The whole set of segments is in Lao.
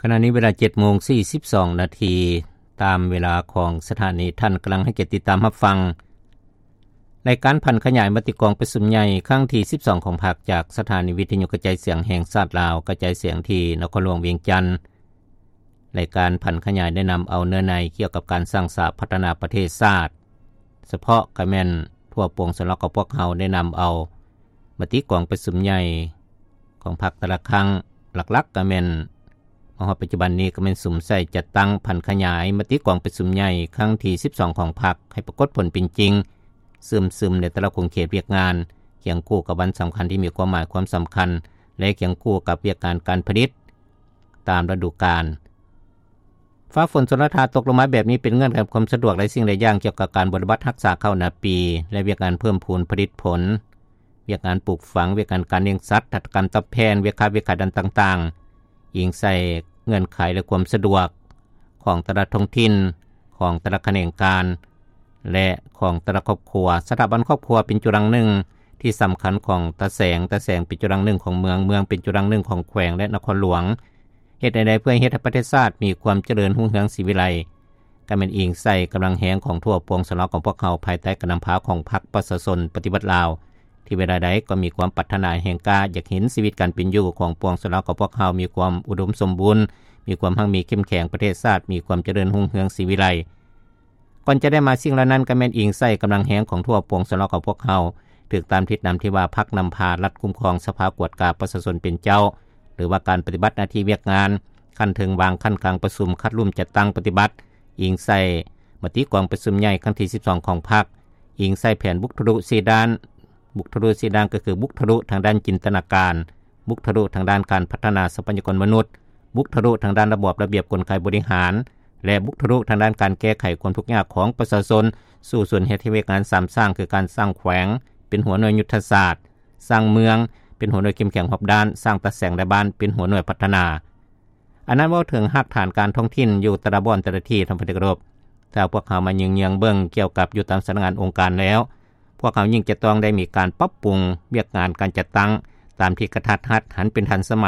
ຂະນະນີ້ເວລາເຈັດໂມງສີ່ສິບສອງນາທີ ຕາມເວລາຂອງສະຖານີ. ທ່ານກຳລັງໃຫ້ກຽດຕິດຕາມຮັບຟັງ ລາຍການຜັນຂະຫຍາຍມະຕິກອງປະຊຸມໃຫຍ່ຄັ້ງທີສິບສອງຂອງພັກ ຈາກສະຖານີວິທະຍຸກະຈາຍສຽງແຫ່ງຊາດລາວ ກະຈາຍສຽງທີ່ນະຄອນຫຼວງວຽງຈັນ. ລາຍການຜັນຂະຫຍາຍໄດ້ນຳເອົາເນື້ອໃນກ່ຽວກັບການສ້າງສາພັດທະນາປະເທດຊາດ ສະເພາະກະແມ່ນທົ່ວປວງຊົນລາວຂອງພວກເຮົາໄດ້ນຳເອົາມະຕິກອງປະຊຸມໃຫຍ່ຂອງພັກແຕ່ລະຄັ້ງ ຫຼັກໆກະແມ່ນ ມາຮອດປັດຈຸບັນນີ້ກະແມ່ນສຸມໃສ່ຈັດຕັ້ງຜັນຂະຫຍາຍມະຕິກອງປະຊຸມໃຫຍ່ຄັ້ງທີສິບສອງຂອງພັກ ໃຫ້ປາກົດຜົນເປັນຈິງ ເຊື່ອມຊຶມໃນແຕ່ລະຂົງເຂດວຽກງານ ຄຽງຄູ່ກັບວັນສຳຄັນທີ່ມີຄວາມໝາຍຄວາມສຳຄັນ ແລະ ຄຽງຄູ່ກັບວຽກງານການຜະລິດຕາມລະດູການ. ຟ້າຝົນຊົນລະທາຕົກລົງມາແບບນີ້ ເປັນເງື່ອນໄຂຄວາມສະດວກຫຼາຍສິ່ງຫຼາຍຢ່າງ ກ່ຽວກັບການບົວລະບັດຮັກສາເຂົ້ານາປີ ແລະ ວຽກງານເພີ່ມພູນຜະລິດຜົນ, ວຽກງານປູກຝັງ, ວຽກງານການລ້ຽງສັດ, ຫັດຖະກຳຕອບແທນ, ວຽກຄ້າ, ວຽກຂາຍດ້ານຕ່າງໆ ອີງໃສ່ເງື່ອນໄຂ ແລະ ຄວາມສະດວກຂອງແຕ່ລະທ້ອງຖິ່ນ, ຂອງແຕ່ລະຂະແໜງການ ແລະ ຂອງແຕ່ລະຄອບຄົວ. ສະຖາບັນຄອບຄົວເປັນຈຸລັງໜຶ່ງທີ່ສຳຄັນຂອງຕາແສງ, ຕາແສງເປັນຈຸລັງໜຶ່ງຂອງເມືອງ, ເມືອງເປັນຈຸລັງໜຶ່ງຂອງແຂວງ ແລະ ນະຄອນຫຼວງ. ເຮັດແນວໃດເພື່ອເຮັດໃຫ້ປະເທດຊາດມີຄວາມຈະເລີນຮຸ່ງເຮືອງສີວິໄລ? ກະແມ່ນອີງໃສ່ກຳລັງແຮງຂອງທົ່ວປວງຊົນລາວຂອງພວກເຮົາ ພາຍໃຕ້ການນຳພາຂອງພັກປະຊາຊົນປະຕິວັດລາວ ທີ່ເວລາໃດກໍມີຄວາມປາດຖະໜາແຮງກ້າ ຢາກເຫັນຊີວິດການເປັນຢູ່ຂອງປວງຊົນລາວຂອງພວກເຮົາມີຄວາມອຸດົມສົມບູນ, ມີຄວາມຮັ່ງມີເຂັ້ມແຂງ, ປະເທດຊາດມີຄວາມຈະເລີນຮຸ່ງເຮືອງສີວິໄລ. ກ່ອນຈະໄດ້ມາສິ່ງເຫຼົ່ານັ້ນ ກະແມ່ນອີງໃສ່ກຳລັງແຮງຂອງທົ່ວປວງຊົນລາວຂອງພວກເຮົາ ຖືກຕາມທິດນຳທີ່ວ່າພັກນຳພາ, ລັດຄຸ້ມຄອງ, ສະພາກວດກາ, ປະຊາຊົນເປັນເຈົ້າ ຫຼືວ່າການປະຕິບັດໜ້າທີ່ວຽກງານ, ຂັ້ນເທິງວາງ, ຂັ້ນກາງປະຊຸມ, ຄັດລຸ່ມ, ຈັດຕັ້ງປະຕິບັດ, ອີງໃສ່ມະຕິກອງປະຊຸມໃຫຍ່ຄັ້ງທີສິບສອງຂອງພັກ, ອີງໃສ່ແຜນບຸກທະລຸສີ່ດ້ານ, ບຸກທະລຸສີ່ດ້ານກໍຄືບຸກທະລຸທາງດ້ານຈິນຕະນາການ, ບຸກທະລຸທາງດ້ານການພັດທະນາຊັບພະຍາກອນມະນຸດ, ບຸກທະລຸທາງດ້ານລະບອບລະບຽບກົນໄກບໍລິຫານ ແລະ ບຸກທະລຸທາງດ້ານການແກ້ໄຂຄວາມທຸກຍາກຂອງປະຊາຊົນ ສູ້ຊົນເຮັດໃຫ້ວຽກງານສາມສ້າງ ຄືການສ້າງແຂວງເປັນຫົວໜ່ວຍຍຸດທະສາດ, ສ້າງເມືອງເປັນຫົວໜ່ວຍເຂັ້ມແຂງຮອບດ້ານ, ສ້າງຕາແສງໃນບ້ານເປັນຫົວໜ່ວຍພັດທະນາ. ອັນນັ້ນເວົ້າເຖິງຮາກຖານການທ້ອງຖິ່ນຢູ່ແຕ່ລະບ່ອນແຕ່ລະທີ່ ທ່ານທີ່ເຄົາລົບ. ຖ້າພວກເຮົາມາຍິງເຍືອງເບິ່ງກ່ຽວກັບຢູ່ຕາມສຳນັກງານອົງການແລ້ວ, ພວກເຮົາຍິ່ງຈະຕ້ອງໄດ້ມີການປັບປຸງວຽກງານການຈັດຕັ້ງຕາມທີ່ກະທັດຮັດ, ຫັນເປັນທັນສະໄໝ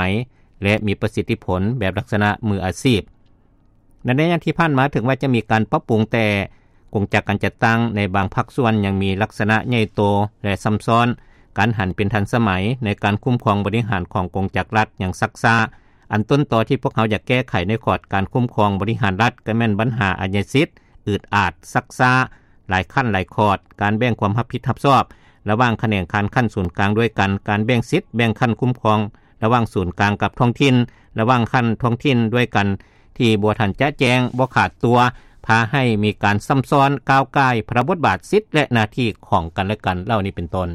ແລະ ມີປະສິດທິຜົນແບບລັກສະນະມືອາຊີບ. ໃນໄລຍະທີ່ຜ່ານມາ ເຖິງວ່າຈະມີການປັບປຸງ, ແຕ່ກົງຈັກການຈັດຕັ້ງໃນບາງພາກສ່ວນຍັງມີລັກສະນະໃຫຍ່ໂຕ ແລະ ຊຳຊ້ອນ, ການຫັນເປັນທັນສະໄໝໃນການຄຸ້ມຄອງບໍລິຫານຂອງກົງຈັກລັດຍັງຊັກຊ້າ. ອັນຕົ້ນຕໍທີ່ພວກເຮົາຢາກແກ້ໄຂໃນຂອດການຄຸ້ມຄອງບໍລິຫານລັດ ກໍແມ່ນບັນຫາອາຍະສິດ ອືດອາດ, ຊັກຊ້າ, ຫຼາຍຂັ້ນຫຼາຍຂອດ, ການແບ່ງຄວາມຮັບຜິດຮັບຊອບລະຫວ່າງຂະແໜງການຂັ້ນສູນກາງດ້ວຍກັນ, ການແບ່ງສິດແບ່ງຂັ້ນຄຸ້ມຄອງລະຫວ່າງສູນກາງກັບທ້ອງຖິ່ນ, ລະຫວ່າງຂັ້ນທ້ອງຖິ່ນດ້ວຍກັນ ທີ່ບໍ່ທັນຈະແຈ້ງ, ບໍ່ຂາດຕົວ, ພາໃຫ້ມີການຊຳຊ້ອນ, ກ້າວກ່າຍພາລະບົດບາດ, ສິດ ແລະ ໜ້າທີ່ຂອງກັນແລະກັນ ເຫຼົ່ານີ້ເປັນຕົ້ນ.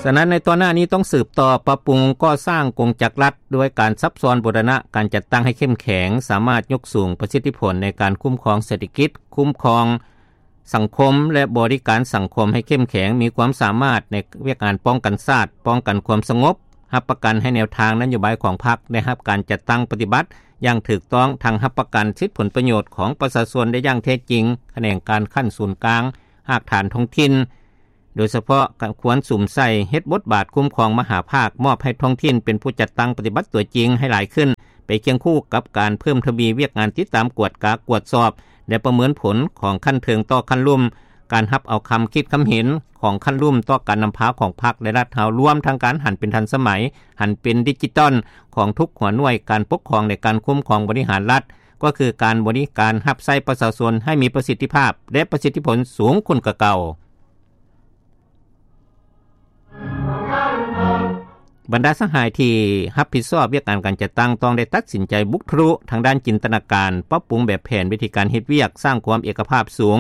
ສະນັ້ນ ໃນຕໍ່ໜ້ານີ້ຕ້ອງສືບຕໍ່ປັບປຸງກໍ່ສ້າງກົງຈັກລັດ ດ້ວຍການຊັບຊ້ອນບູລະນະການຈັດຕັ້ງໃຫ້ເຂັ້ມແຂງ, ສາມາດຍົກສູງປະສິດທິຜົນໃນການຄຸ້ມຄອງເສດຖະກິດ, ຄຸ້ມຄອງສັງຄົມ ແລະ ບໍລິການສັງຄົມໃຫ້ເຂັ້ມແຂງ, ມີຄວາມສາມາດໃນວຽກງານປ້ອງກັນຊາດ, ປ້ອງກັນຄວາມສະຫງົບ, ຮັບປະກັນໃຫ້ແນວທາງນະໂຍບາຍຂອງພັກໄດ້ຮັບການຈັດຕັ້ງປະຕິບັດຢ່າງຖືກຕ້ອງ, ທັງຮັບປະກັນສິດຜົນປະໂຫຍດຂອງປະຊາຊົນໄດ້ຢ່າງແທ້ຈິງ, ຂະແໜງການຂັ້ນສູນກາງ, ຮາກຖານທ້ອງຖິ່ນ ໂດຍສະເພາະກະຄວນສຸມໃສ່ເຮັດບົດບາດຄຸ້ມຄອງມະຫາພາກ, ມອບໃຫ້ທ້ອງຖິ່ນເປັນຜູ້ຈັດຕັ້ງປະຕິບັດຕົວຈິງໃຫ້ຫຼາຍຂຶ້ນ, ໄປຄຽງຄູ່ກັບການເພີ່ມທະວີວຽກງານຕິດຕາມ, ກວດກາ, ກວດສອບ ແລະ ປະເມີນຜົນຂອງຂັ້ນເທິງຕໍ່ຂັ້ນລຸ່ມ, ການຮັບເອົາຄຳຄິດຄຳເຫັນຂອງຂັ້ນລຸ່ມຕໍ່ການນຳພາຂອງພັກ ແລະ ລັດເຮົາ, ລວມທັງການຫັນເປັນທັນສະໄໝ, ຫັນເປັນດິຈິຕອນຂອງທຸກຫົວໜ່ວຍການປົກຄອງ ແລະ ການຄຸ້ມຄອງບໍລິຫານລັດ, ກໍຄືການບໍລິການຮັບໃຊ້ປະຊາຊົນໃຫ້ມີປະສິດທິພາບ ແລະ ປະສິດທິຜົນສູງຂຶ້ນກວ່າເກົ່າ. ບັນດາສະຫາຍທີ່ຮັບຜິດຊອບວຽກງານການຈັດຕັ້ງ ຕ້ອງໄດ້ຕັດສິນໃຈບຸກທະລຸທາງດ້ານຈິນຕະນາການ, ປັບປຸງແບບແຜນວິທີການເຮັດວຽກ, ສ້າງຄວາມເອກະພາບສູງ,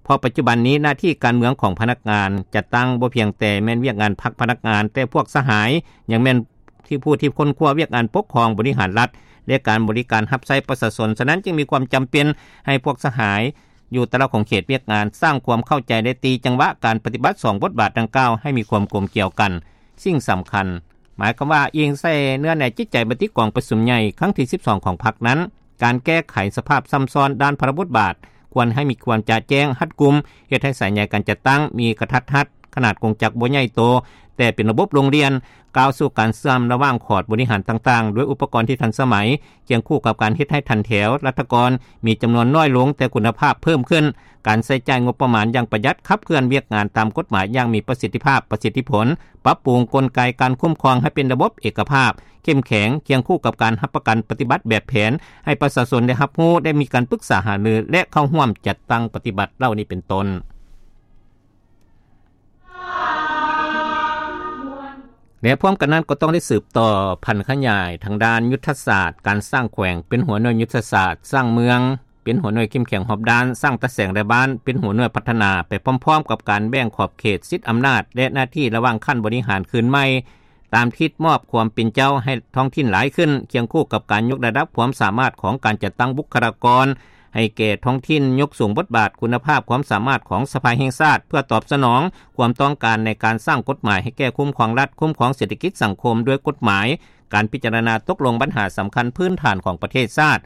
ເພາະປັດຈຸບັນນີ້ໜ້າທີ່ການເມືອງຂອງພະນັກງານຈັດຕັ້ງບໍ່ພຽງແຕ່ແມ່ນວຽກງານພັກພະນັກງານ, ແຕ່ພວກສະຫາຍຍັງແມ່ນທີ່ຜູ້ທີ່ຄົ້ນຄວ້າວຽກງານປົກຄອງບໍລິຫານລັດ ແລະ ການບໍລິການຮັບໃຊ້ປະຊາຊົນ. ສະນັ້ນຈຶ່ງມີຄວາມຈຳເປັນໃຫ້ພວກສະຫາຍ ຢູ່ແຕ່ລະຂົງເຂດວຽກງານ, ສ້າງຄວາມເຂົ້າໃຈ ແລະ ຕີຈັງຫວະການປະຕິບັດສອງບົດບາດດັ່ງກ່າວໃຫ້ມີຄວາມກົມກ່ຽວກັນ. ສິ່ງສຳຄັນ ໝາຍຄວາມວ່າ ອີງໃສ່ເນື້ອໃນຈິດໃຈມະຕິກອງປະຊຸມໃຫຍ່ຄັ້ງທີສິບສອງຂອງພັກນັ້ນ, ການແກ້ໄຂສະພາບຊຳຊ້ອນດ້ານພາລະບົດບາດ ຄວນໃຫ້ມີຄວາມຈະແຈ້ງ, ຮັດກຸມ, ເຮັດໃຫ້ສາຍໃຍການຈັດຕັ້ງມີກະທັດຮັດ, ຂະໜາດກົງຈັກບໍ່ໃຫຍ່ໂຕ ແຕ່ເປັນລະບົບໂຮງຮຽນ ກ້າວສູ່ການເຊື່ອມລະຫວ່າງຂອດບໍລິຫານຕ່າງໆ ດ້ວຍອຸປະກອນທີ່ທັນສະໄໝ ຄຽງຄູ່ກັບການເຮັດໃຫ້ຖັນແຖວລັດຖະກອນ ມີຈຳນວນນ້ອຍລົງ ແຕ່ຄຸນນະພາບເພີ່ມຂຶ້ນ, ການໃຊ້ຈ່າຍງົບປະມານຢ່າງປະຢັດ, ຂັບເຄື່ອນວຽກງານຕາມກົດໝາຍຢ່າງມີປະສິດທິພາບ, ປະສິດທິຜົນ, ປັບປຸງກົນໄກການຄຸ້ມຄອງໃຫ້ເປັນລະບົບເອກະພາບ, ເຂັ້ມແຂງ, ຄຽງຄູ່ກັບການຮັບປະກັນປະຕິບັດແບບແຜນ ໃຫ້ປະຊາຊົນໄດ້ຮັບຮູ້, ໄດ້ມີການປຶກສາຫາລື ແລະ ເຂົ້າຮ່ວມຈັດຕັ້ງປະຕິບັດເຫຼົ່ານີ້ເປັນຕົ້ນ. ແລະ ພ້ອມກັນນັ້ນກໍຕ້ອງໄດ້ສືບຕໍ່ຜັນຂະຫຍາຍທາງດ້ານຍຸດທະສາດການສ້າງແຂວງ, ເປັນຫົວໜ່ວຍຍຸດທະສາດສ້າງເມືອງ, ເປັນຫົວໜ່ວຍເຂັ້ມແຂງຮອບດ້ານ, ສ້າງຕາແສງລາຍບ້ານ, ເປັນຫົວໜ່ວຍພັດທະນາ ໄປພ້ອມໆກັບການແບ່ງຂອບເຂດສິດອຳນາດ ແລະ ໜ້າທີ່ລະຫວ່າງຂັ້ນບໍລິຫານຄືນໃໝ່ ຕາມທິດມອບຄວາມເປັນເຈົ້າໃຫ້ທ້ອງຖິ່ນຫຼາຍຂຶ້ນ, ຄຽງຄູ່ກັບການຍົກລະດັບຄວາມສາມາດຂອງການຈັດຕັ້ງບຸກຄະລາກອນໃຫ້ແກ່ທ້ອງຖິ່ນ, ຍົກສູງບົດບາດ, ຄຸນນະພາບ, ຄວາມສາມາດຂອງສະພາແຫ່ງຊາດ ເພື່ອຕອບສະໜອງຄວາມຕ້ອງການໃນການສ້າງກົດໝາຍໃຫ້ແກ່ຄຸ້ມຄອງລັດ, ຄຸ້ມຄອງເສດຖະກິດສັງຄົມດ້ວຍກົດໝາຍ, ການພິຈາລະນາຕົກລົງບັນຫາສຳຄັນພື້ນຖານຂອງປະເທດຊາດ,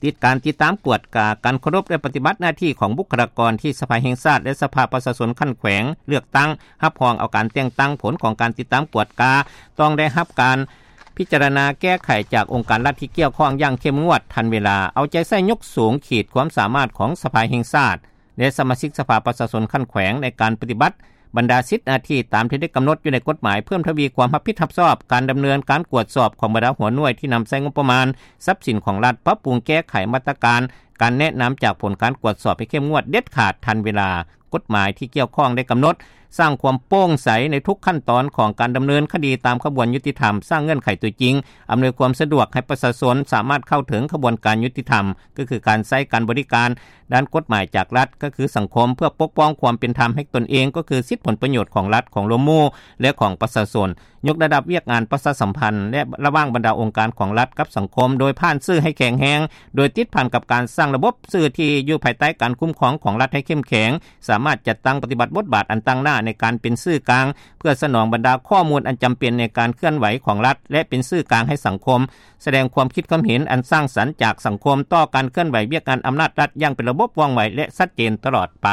ຕິດ ການຕິດຕາມກວດກາການເຄົາລົບ ແລະ ປະຕິບັດໜ້າທີ່ຂອງບຸກຄະລາກອນທີ່ສະພາແຫ່ງຊາດ ແລະ ສະພາປະຊາຊົນຂັ້ນແຂວງເລືອກຕັ້ງ ຮັບຮອງເອົາການແຕ່ງຕັ້ງ, ຜົນຂອງການຕິດຕາມກວດກາຕ້ອງໄດ້ຮັບການພິຈາລະນາແກ້ໄຂຈາກອົງການລັດທີ່ກ່ຽວຂ້ອງຢ່າງເຂັ້ມງວດ, ທັນເວລາ, ເອົາໃຈໃສ່ຍົກສູງຂີດຄວາມສາມາດຂອງສະພາແຫ່ງຊາດ ແລະ ສະມາຊິກສະພາປະຊາຊົນຂັ້ນແຂວງ ໃນການປະຕິບັດບັນດາສິດໜ້າທີ່ຕາມທີ່ໄດ້ກຳນົດຢູ່ໃນກົດໝາຍ, ເພີ່ມທະວີຄວາມຮັບຜິດຮັບຊອບການດຳເນີນການກວດສອບຂອງບັນດາຫົວໜ່ວຍທີ່ນຳໃຊ້ງົບປະມານຊັບສິນຂອງລັດ, ປັບປຸງແກ້ໄຂມາດຕະການ ການແນະນຳຈາກຜົນການກວດສອບໃຫ້ເຂັ້ມງວດ, ເດັດຂາດ, ທັນເວລາ, ກົດໝາຍທີ່ກ່ຽວຂ້ອງໄດ້ກຳນົດ, ສ້າງຄວາມໂປ່ງໃສໃນທຸກຂັ້ນຕອນຂອງການດຳເນີນຄະດີຕາມຂະບວນຍຸຕິທຳ, ສ້າງເງື່ອນໄຂຕົວຈິງ, ອຳນວຍຄວາມສະດວກໃຫ້ປະຊາຊົນສາມາດເຂົ້າເຖິງຂະບວນການຍຸຕິທຳ, ກໍຄືການໃຊ້ການບໍລິການດ້ານກົດໝາຍຈາກລັດ, ກໍຄືສັງຄົມ, ເພື່ອປົກປ້ອງຄວາມເປັນທຳໃຫ້ຕົນເອງ, ກໍຄືສິດຜົນປະໂຫຍດຂອງລັດ, ຂອງລວມໝູ່ ແລະ ຂອງປະຊາຊົນ. ຍົກລະດັບວຽກງານປະຊາສຳພັນ ແລະ ລະຫວ່າງບັນດາອົງການຂອງລັດກັບສັງຄົມ ໂດຍຜ່ານສື່ໃຫ້ແຂງແຮງ, ໂດຍຕິດພັນກັບການສ້າງລະບົບສື່ທີ່ຢູ່ພາຍໃຕ້ການຄຸ້ມຄອງຂອງລັດໃຫ້ເຂັ້ມແຂງ, ສາມາດຈັດຕັ້ງປະຕິບັດບົດບາດອັນຕັ້ງໜ້າໃນການເປັນສື່ກາງ ເພື່ອສະໜອງບັນດາຂໍ້ມູນອັນຈຳເປັນໃນການເຄື່ອນໄຫວຂອງລັດ ແລະ ເປັນສື່ກາງໃຫ້ສັງຄົມ, ສະແດງຄວາມຄິດຄວາມເຫັນອັນສ້າງສັນຈາກສັງຄົມຕໍ່ການເຄື່ອນໄຫວວຽກງານອຳນາດລັດຢ່າງເປັນລະບົບ, ວ່ອງໄວ ແລະ ຊັດເຈນຕະຫຼອດໄປ.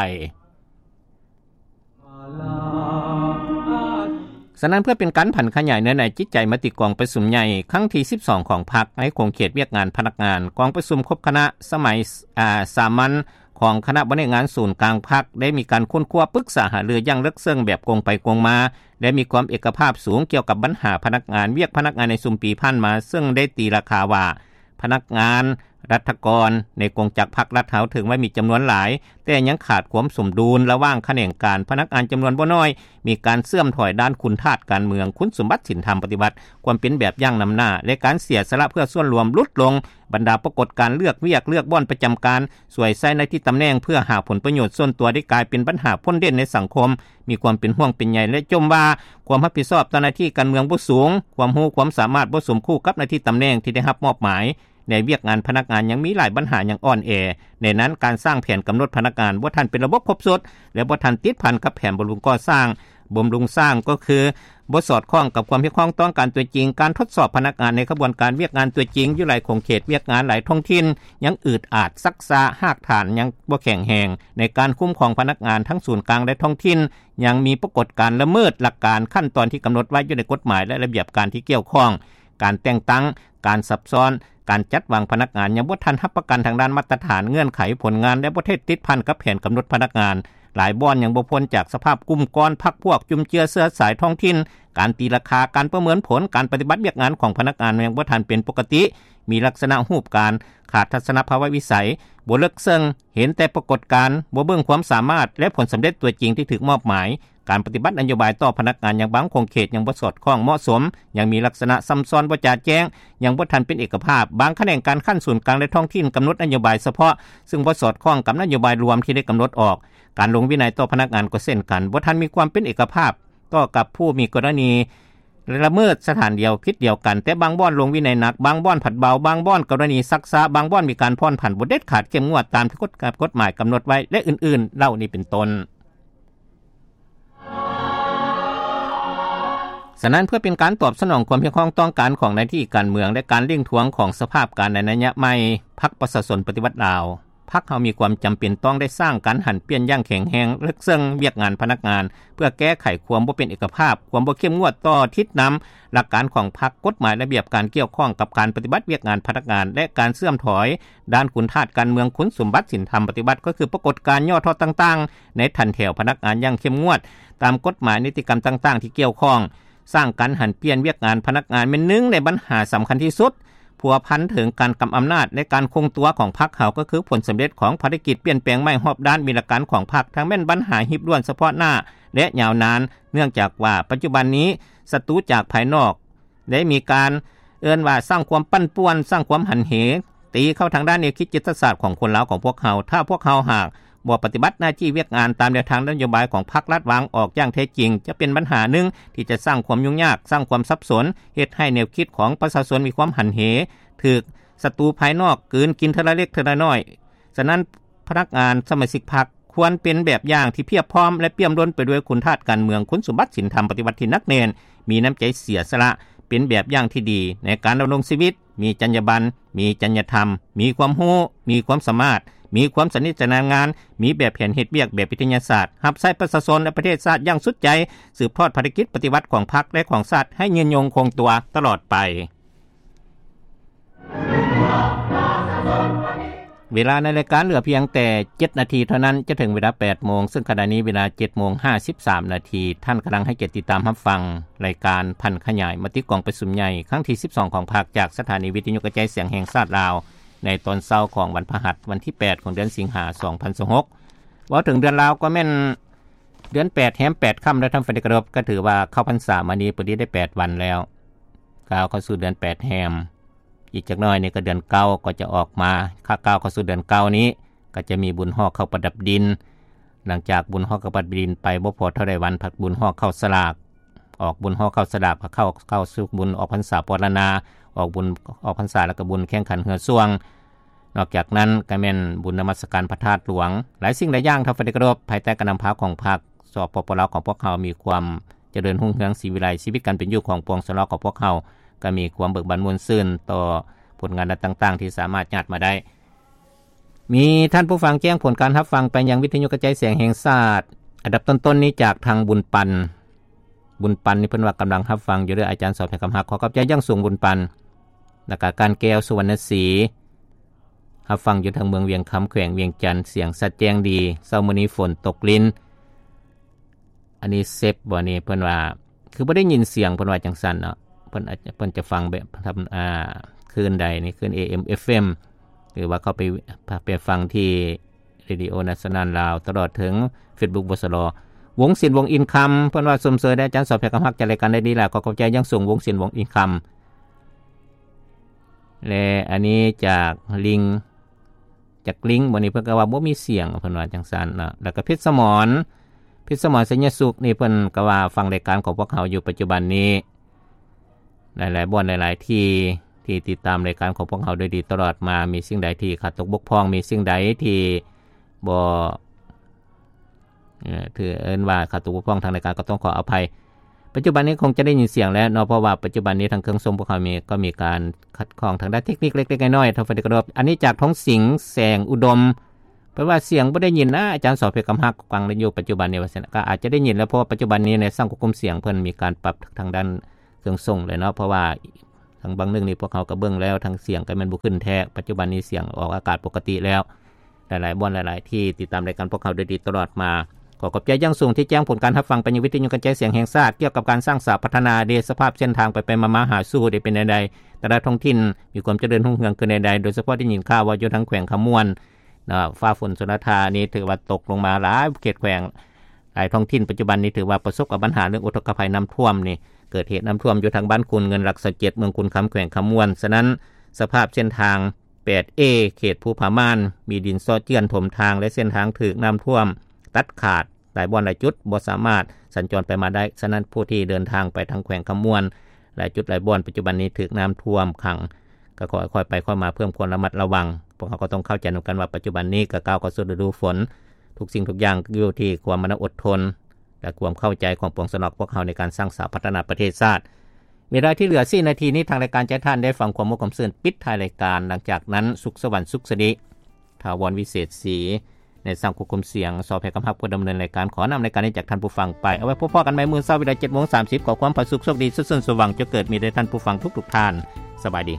ສະນັ້ນ ເພື່ອເປັນການຜັນຂະຫຍາຍເນື້ອໃນຈິດໃຈມະຕິກອງປະຊຸມໃຫຍ່ຄັ້ງທີສິບສອງຂອງພັກໃນຂົງເຂດວຽກງານພະນັກງານ, ກອງປະຊຸມຄົບຄະນະສະໄໝ ອາ ສາມັນຂອງຄະນະບໍລິຫານງານສູນກາງພັກ ໄດ້ມີການຄົ້ນຄວ້າປຶກສາຫາລືຢ່າງເລິກເຊິ່ງແບບກົງໄປກົງມາ ແລະ ມີຄວາມເອກະພາບສູງກ່ຽວກັບບັນຫາພະນັກງານ, ວຽກພະນັກງານໃນຊຸມປີຜ່ານມາ, ເຊິ່ງໄດ້ຕີລາຄາວ່າ ພະນັກງານລັດຖະກອນໃນກົງຈັກພັກລັດເຮົາເຖິງວ່າມີຈຳນວນຫຼາຍ, ແຕ່ຍັງຂາດຄວາມສົມດຸນລະຫວ່າງຂະແໜງການ, ພະນັກງານຈຳນວນບໍ່ນ້ອຍ ມີການເສື່ອມຖອຍດ້ານຄຸນທາດການເມືອງ, ຄຸນສົມບັດສິນທຳປະຕິວັດ, ຄວາມເປັນແບບຢ່າງນຳໜ້າ ແລະ ການເສຍສະຫຼະເພື່ອສ່ວນລວມຫຼຸດລົງ, ບັນດາປາກົດການເລືອກວຽກ, ເລືອກບ່ອນປະຈຳການ, ສວຍໃຊ້ໜ້າທີ່ຕຳແໜ່ງເພື່ອຫາຜົນປະໂຫຍດສ່ວນຕົວ ໄດ້ກາຍເປັນບັນຫາພົ້ນເດັ່ນໃນສັງຄົມ, ມີຄວາມເປັນຫ່ວງເປັນໃຍ ແລະ ຈົ່ມວ່າຄວາມຮັບຜິດຊອບຕໍ່ໜ້າທີ່ການເມືອງບໍ່ສູງ, ຄວາມຮູ້ຄວາມສາມາດບໍ່ສົມຄູ່ກັບໜ້າທີ່ຕຳແໜ່ງທີ່ໄດ້ຮັບມອບໝາຍ. ໃນວຽກງານພະນັກງານຍັງມີຫຼາຍບັນຫາຍັງອ່ອນແອ, ໃນນັ້ນການສ້າງແຜນກຳນົດພະນັກງານບໍ່ທັນເປັນລະບົບຄົບຊຸດ ແລະ ບໍ່ທັນຕິດພັນກັບແຜນບຳລຸງກໍ່ສ້າງ, ບຳລຸງສ້າງກໍຄືບໍ່ສອດຄ່ອງກັບຄວາມຮຽກຮ້ອງຕ້ອງການຕົວຈິງ, ການທົດສອບພະນັກງານໃນຂະບວນການວຽກງານຕົວຈິງຢູ່ຫຼາຍຂົງເຂດວຽກງານ, ຫຼາຍທ້ອງຖິ່ນຍັງອືດອາດ, ຊັກຊ້າ, ຮາກຖານຍັງບໍ່ແຂງແຮງ, ໃນການຄຸ້ມຄອງພະນັກງານທັງສູນກາງ ແລະ ທ້ອງຖິ່ນ ຍັງມີປາກົດການລະເມີດຫຼັກການຂັ້ນຕອນທີ່ກຳນົດໄວ້ຢູ່ໃນກົດໝາຍ ແລະ ລະບຽບການທີ່ກ່ຽວຂ້ອງ, ການແຕ່ງຕັ້ງ, ການຊັບຊ້ອນ, ການຈັດວາງພະນັກງານຍັງບໍ່ທັນຮັບປະກັນທາງດ້ານມາດຕະຖານ, ເງື່ອນໄຂ, ຜົນງານ ແລະ ບໍ່ໄດ້ຕິດພັນກັບແຜນກຳນົດພະນັກງານ, ຫຼາຍບ່ອນຍັງບໍ່ພົ້ນຈາກສະພາບກຸ່ມກ້ອນ, ພັກພວກ, ຈຸ້ມເຈື້ອເຊື້ອສາຍທ້ອງຖິ່ນ, ການຕີລາຄາ, ການປະເມີນຜົນການປະຕິບັດວຽກງານຂອງພະນັກງານຍັງບໍ່ທັນເປັນປົກກະຕິ, ມີລັກສະນະຮູບການ, ຂາດທັດສະນະພາວະວິໄສ, ບໍ່ເລິກເຊິ່ງ, ເຫັນແຕ່ປາກົດການ, ບໍ່ເບິ່ງຄວາມສາມາດ ແລະ ຜົນສຳເລັດຕົວຈິງທີ່ຖືກມອບໝາຍ. ການປະຕິບັດນະໂຍບາຍຕໍ່ພະນັກງານຍັງບາງຂົງເຂດຍັງບໍ່ສອດຄ່ອງເໝາະສົມ, ຍັງມີລັກສະນະຊຳຊ້ອນບໍ່ຈະແຈ້ງ, ຍັງບໍ່ທັນເປັນເອກະພາບ, ບາງຂະແໜງການຂັ້ນສູນກາງ ແລະ ທ້ອງຖິ່ນກຳນົດນະໂຍບາຍສະເພາະ ຊຶ່ງບໍ່ສອດຄ່ອງກັບນະໂຍບາຍລວມທີ່ໄດ້ກຳນົດອອກ. ການລົງວິໄນຕໍ່ພະນັກງານກໍເຊັ່ນກັນ, ບໍ່ທັນມີຄວາມເປັນເອກະພາບຕໍ່ກັບຜູ້ມີກໍລະນີລະເມີດສະຖານດຽວ, ຜິດດຽວກັນ, ແຕ່ບາງບ່ອນລົງວິໄນໜັກ, ບາງບ່ອນຜັດເບົາ, ບາງບ່ອນກໍລະນີຊັກຊ້າ, ບາງບ່ອນມີການຜ່ອນຜັນ, ບໍ່ເດັດຂາດເຂັ້ມງວດຕາມທີ່ກົດ ກົດໝາຍກຳນົດໄວ້ ແລະ ອື່ນໆ ເຫຼົ່ານີ້ເປັນຕົ້ນ. ສະນັ້ນ ເພື່ອເປັນການຕອບສະໜອງຄວາມຮຽກຮ້ອງຕ້ອງການຂອງໜ້າທີ່ການເມືອງ ແລະ ການເລັ່ງທວງຂອງສະພາບການໃນໄລຍະໃໝ່, ພັກປະຊາຊົນປະຕິວັດລາວ ພັກເຮົາມີຄວາມຈຳເປັນຕ້ອງໄດ້ສ້າງການຫັນປ່ຽນຢ່າງແຂງແຮງເລິກເຊິ່ງວຽກງານພະນັກງານ ເພື່ອແກ້ໄຂຄວາມບໍ່ເປັນເອກະພາບ, ຄວາມບໍ່ເຂັ້ມງວດຕໍ່ທິດນຳຫຼັກການຂອງພັກ, ກົດໝາຍລະບຽບການກ່ຽວຂ້ອງກັບການປະຕິບັດວຽກງານພະນັກງານ ແລະ ການເຊື່ອມຖອຍດ້ານຄຸນທາດການເມືອງ, ຄຸນສົມບັດສິນທຳປະຕິບັດ ກໍຄືປາກົດການຫຍໍ້ທໍ້ຕ່າງໆໃນຖັນແຖວພະນັກງານຢ່າງເຂັ້ມງວດ ຕາມກົດໝາຍນິຕິກຳຕ່າງໆທີ່ກ່ຽວຂ້ອງ. ສ້າງການຫັນປ່ຽນວຽກງານພະນັກງານແມ່ນໜຶ່ງໃນບັນຫາສຳຄັນທີ່ສຸດ ພົວພັນເຖິງການກຳອຳນາດ ແລະ ການຄົງຕົວຂອງພັກເຮົາ ກໍຄືຜົນສຳເລັດຂອງພາລະກິດປ່ຽນແປງໃໝ່ຮອບດ້ານວິລະການຂອງພັກ ທັງແມ່ນບັນຫາຮີບດ່ວນສະເພາະໜ້າ ແລະ ຍາວນານ, ເນື່ອງຈາກວ່າປັດຈຸບັນນີ້ ສັດຕູຈາກພາຍນອກ ໄດ້ມີການເອີ້ນວ່າສ້າງຄວາມປັ່ນປ່ວນ, ສ້າງຄວາມຫັນເຫ ຕີເຂົ້າທາງດ້ານແນວຄິດ, ຈິດຕະສາດຂອງຄົນລາວຂອງພວກເຮົາ. ຖ້າພວກເຮົາຫາກບໍ່ປະຕິບັດໜ້າທີ່ວຽກງານຕາມແນວທາງນະໂຍບາຍຂອງພັກລັດວາງອອກຢ່າງແທ້ຈິງ, ຈະເປັນບັນຫາໜຶ່ງທີ່ຈະສ້າງຄວາມຫຍຸ້ງຍາກ, ສ້າງຄວາມສັບສົນ, ເຮັດໃຫ້ແນວຄິດຂອງປະຊາຊົນມີຄວາມຫັນເຫ, ຖືກສັດຕູພາຍນອກກືນກິນເທື່ອລະເລັກເທື່ອລະນ້ອຍ. ສະນັ້ນ, ພະນັກງານສະມາຊິກພັກຄວນເປັນແບບຢ່າງທີ່ພຽບພ້ອມ ແລະ ປ່ຽມລົ້ນໄປດ້ວຍຄຸນທາດການເມືອງ, ຄຸນສົມບັດສິນທຳປະຕິວັດທີ່ໜັກແໜ້ນ, ມີນ້ຳໃຈເສຍສະຫຼະ, ເປັນແບບຢ່າງທີ່ດີໃນການດຳລົງຊີວິດ, ມີຈັນຍາບັນ, ມີຈັນຍາທຳ, ມີຄວາມຮູ້, ມີຄວາມສາມາດ, ມີຄວາມຊຳນິຊຳນານງານ, ມີແບບແຜນເຮັດວຽກແບບວິທະຍາສາດ, ຮັບໃຊ້ປະຊາຊົນ ແລະ ປະເທດຊາດຢ່າງສຸດໃຈ, ສືບທອດພາລະກິດປະຕິວັດຂອງພັກ ແລະ ຂອງຊາດໃຫ້ຍືນຍົງຄົງຕົວຕະຫຼອດໄປ. ເວລາໃນລາຍການເຫຼືອພຽງແຕ່ເຈັດນາທີເທົ່ານັ້ນ ຈະເຖິງເວລາແປດໂມງ, ເຊິ່ງຂະນະນີ້ເວລາເຈັດໂມງຫ້າສິບສາມນາທີ. ທ່ານກຳລັງໃຫ້ກຽດຕິດຕາມຮັບຟັງລາຍການຜັນຂະຫຍາຍມະຕິກອງປະຊຸມໃຫຍ່ຄັ້ງທີສິບສອງຂອງພັກ ຈາກສະຖານີວິທະຍຸກະຈາຍສຽງແຫ່ງຊາດລາວ ໃນຕອນເຊົ້າຂອງວັນພະຫັດ ວັນທີແປດຂອງເດືອນສິງຫາ ສອງພັນຊາວຫົກ. ເວົ້າເຖິງເດືອນລາວກໍແມ່ນເດືອນແປດແຮມແປດຄ່ຳແລ້ວ ທ່ານທີ່ເຄົາລົບ, ກໍຖືວ່າເຂົ້າພັນສາມານີ້ ພໍດີໄດ້ແປດວັນແລ້ວ. ກ້າວເຂົ້າສູ່ເດືອນແປດແຮມ, ອີກຈັກໜ້ອຍນີ້ກໍເດືອນເກົ້າກໍຈະອອກມາ. ກ້າວເຂົ້າສູ່ເດືອນເກົ້ານີ້ ກໍຈະມີບຸນຫໍ່ເຂົ້າປະດັບດິນ. ຫຼັງຈາກບຸນຫໍ່ເຂົ້າປະດັບດິນໄປບໍ່ພໍເທົ່າໃດວັນ, ພັດບຸນຫໍ່ເຂົ້າສະຫຼາກ, ອອກບຸນຫໍ່ເຂົ້າສະຫຼາກ, ກໍເຂົ້າ ເຂົ້າສູ່ບຸນອອກພັນສາປອດລະນາ, ອອກບຸນອອກພັນສາ ແລ້ວກໍບຸນແຂ່ງຂັນເຮືອຊ່ວງ. ນອກຈາກນັ້ນກໍແມ່ນບຸນນະມັດສະການພະທາດຫຼວງ. ຫຼາຍສິ່ງຫຼາຍຢ່າງ ທ່ານທີ່ເຄົາລົບ, ພາຍໃຕ້ການນຳພາຂອງພັກ ສປປ ລາວ ຂອງພວກເຮົາມີຄວາມຈະເລີນຮຸ່ງເຮືອງສີວິໄລ, ຊີວິດການເປັນຢູ່ຂອງປວງຊາວລາວຂອງພວກເຮົາກໍມີຄວາມເບີກບານມ່ວນຊື່ນຕໍ່ຜົນງານຕ່າງໆທີ່ສາມາດຍາດມາໄດ້. ມີທ່ານຜູ້ຟັງແຈ້ງຜົນການຮັບຟັງໄປຍັງວິທະຍຸກະຈາຍສຽງແຫ່ງຊາດ ອັນດັບຕົ້ນໆນີ້ຈາກທາງບຸນປັນ. ບຸນປັນນີ້ເພິ່ນວ່າກຳລັງຮັບຟັງຢູ່ເດີ ອາຈານສອບແຫ່ງຄຳຮັກ. ຂໍຂອບໃຈຢ່າງສູງບຸນປັນ. ແລ້ວກະການແກ້ວ ສຸວັນນະສີ ຮັບຟັງຢູ່ທາງເມືອງວຽງຄຳ ແຂວງວຽງຈັນ, ສຽງຊັດແຈ້ງດີ. ເຊົ້າມື້ນີ້ຝົນຕົກລິນ. ອັນນີ້ເຊັບບໍ່ນີ້ ເພິ່ນວ່າຄືບໍ່ໄດ້ຍິນສຽງ ເພິ່ນວ່າຈັ່ງຊັ້ນເນາະ. ເພິ່ນອາດ ເພິ່ນຈະຟັງແບບທຳ ອ່າ ຄື້ນໃດນີ້ ຄື້ນ ເອເອັມ ເອັຟເອັມ ຫຼືວ່າເຂົ້າໄປ ໄປຟັງທີ່ Radio National ລາວ ຕະຫຼອດເຖິງ Facebook ວສລ ວົງສິນ ວົງອິນຄຳ ເພິ່ນວ່າຊົມເຊີຍແດ່ອາຈານສອບແພກຄຳຮັກ ຈັດລາຍການໄດ້ດີຫຼາຍ ຂໍຂອບໃຈຢ່າງສູງ ວົງສິນ ວົງອິນຄຳ. ແລະ ອັນນີ້ຈາກລິງ ຈາກລິງ ມື້ນີ້ເພິ່ນກໍວ່າບໍ່ມີສຽງ ເພິ່ນວ່າຈັ່ງຊັ້ນເນາະ. ແລ້ວກໍເພັດສະໝອນ ເພັດສະໝອນ ໄຊຍະສຸກນີ້ ເພິ່ນກໍວ່າຟັງລາຍການຂອງພວກເຮົາຢູ່ປັດຈຸບັນນີ້ ຫຼາຍໆບ່ອນ ຫຼາຍໆທີ່ ທີ່ຕິດຕາມລາຍການຂອງພວກເຮົາໂດຍດີຕະຫຼອດມາ. ມີສິ່ງໃດທີ່ຂາດຕົກບົກຜ່ອງ ມີສິ່ງໃດທີ່ບໍ່ ເອີ ຖືເອີ້ນວ່າຂາດຕົກບົກຜ່ອງທາງລາຍການ ກໍຕ້ອງຂໍອະໄພ. ປັດຈຸບັນນີ້ຄົງຈະໄດ້ຍິນສຽງແລ້ວເນາະ ເພາະວ່າປັດຈຸບັນນີ້ທາງເຄື່ອງສົ່ງພວກເຮົາມີ ກໍມີການຂັດຂ້ອງທາງດ້ານເທັກນິກເລັກໆນ້ອຍໆ ທ່ານທີ່ເຄົາລົບ. ອັນນີ້ຈາກທອງສິງ ແສງອຸດົມ ເພິ່ນວ່າສຽງບໍ່ໄດ້ຍິນນະ ອາຈານສອບເພກຳຮັກ ຟັງໄດ້ຢູ່ປັດຈຸບັນນີ້ວ່າຊັ້ນ. ກໍອາດຈະໄດ້ຍິນແລ້ວ ເພາະວ່າປັດຈຸບັນນີ້ໃນຊ່າງຄວບຄຸມສຽງເພິ່ນມີການປັບທາງດ້ານເຄື່ອງສົ່ງແລ້ວເນາະ ເພາະວ່າທາງບາງໜຶ່ງນີ້ພວກເຮົາກໍເບິ່ງແລ້ວ ທາງສຽງກໍແມ່ນບໍ່ຂຶ້ນແທ້. ປັດຈຸບັນນີ້ສຽງອອກອາກາດປົກກະຕິແລ້ວ. ຫຼາຍໆບ່ອນ ຫຼາຍໆທີ່ຕິດຕາມລາຍການພວກເຮົາໂດຍດີຕະຫຼອດມາ. ຂໍຂອບໃຈຢ່າງສູງທີ່ແຈ້ງຜົນການຮັບຟັງໄປຍັງວິທະຍຸກະຈາຍສຽງແຫ່ງຊາດ ກ່ຽວກັບການສ້າງສາພັດທະນາເດ ສະພາບເສັ້ນທາງໄປໆມາໆຫາສູ່ໄດ້ເປັນແນວໃດ, ແຕ່ລະທ້ອງຖິ່ນມີຄວາມຈະເລີນຮຸ່ງເຮືອງຂຶ້ນແນວໃດ, ໂດຍສະເພາະໄດ້ຍິນຂ່າວວ່າຢູ່ທາງແຂວງຄຳມ່ວນ ນະ ຟ້າຝົນຊົນລະທານີ້ຖືວ່າຕົກລົງມາຫຼາຍເຂດແຂວງ ຫຼາຍທ້ອງຖິ່ນ. ປັດຈຸບັນນີ້ຖືວ່າປະສົບກັບບັນຫາເລື່ອງອຸທົກກະໄພນ້ຳຖ້ວມນີ້ ເກີດເຫດນ້ຳຖ້ວມຢູ່ທາງບ້ານຄູນເງິນ ຫຼັກຊາວເຈັດ ເມືອງຄູນຄຳ ແຂວງຄຳມ່ວນ. ສະນັ້ນ ສະພາບເສັ້ນທາງ ແປດເອ ເຂດພູຜາມ່ານ ມີດິນເຊາະເຈື່ອນຖົມທາງ ແລະ ເສັ້ນທາງຖືກນ້ຳຖ້ວມຕັດຂາດ, ຫຼາຍບ່ອນຫຼາຍຈຸດບໍ່ສາມາດສັນຈອນໄປມາໄດ້. ສະນັ້ນ ຜູ້ທີ່ເດີນທາງໄປທາງແຂວງຄຳມ່ວນ ຫຼາຍຈຸດຫຼາຍບ່ອນ ປັດຈຸບັນນີ້ຖືກນ້ຳຖ້ວມຂັງ, ກໍຂໍໃຫ້ຄ່ອຍໄປຄ່ອຍມາ ເພີ່ມຄວາມລະມັດລະວັງ. ພວກເຮົາກໍຕ້ອງເຂົ້າໃຈນຳກັນວ່າ ປັດຈຸບັນນີ້ກໍກ້າວເຂົ້າສູ່ລະດູຝົນ, ທຸກສິ່ງທຸກຢ່າງຢູ່ທີ່ຄວາມມານະອົດທົນ ແລະ ຄວາມເຂົ້າໃຈຂອງປວງຊາວລາວພວກເຮົາໃນການສ້າງສາພັດທະນາປະເທດຊາດ. ເວລາທີ່ເຫຼືອສີ່ນາທີນີ້ ທາງລາຍການຈະໃຫ້ທ່ານໄດ້ຟັງຄວາມຮູ້ຄວາມຊື່ນປິດທ້າຍລາຍການ. ຫຼັງຈາກນັ້ນ ສຸກສະຫວັນ ສຸກສະດີ. ຖາວອນ ວິເສດສີ ໃນສາງຄວບຄຸມສຽງ ສອພ ຄຳຮັກ ຜູ້ດຳເນີນລາຍການ. ຂໍນຳລາຍການນີ້ຈາກທ່ານຜູ້ຟັງໄປ. ເອົາໄວ້ພົບພໍ້ກັນໃໝ່ມື້ເຊົ້າເວລາ ເຈັດໂມງສາມສິບ. ຂໍຄວາມຜາສຸກໂຊກດີ ສຸກສັນສວ່າງ ຈົ່ງເກີດມີແດ່ທ່ານຜູ້ຟັງທຸກໆທ່ານ. ສະບາຍດີ.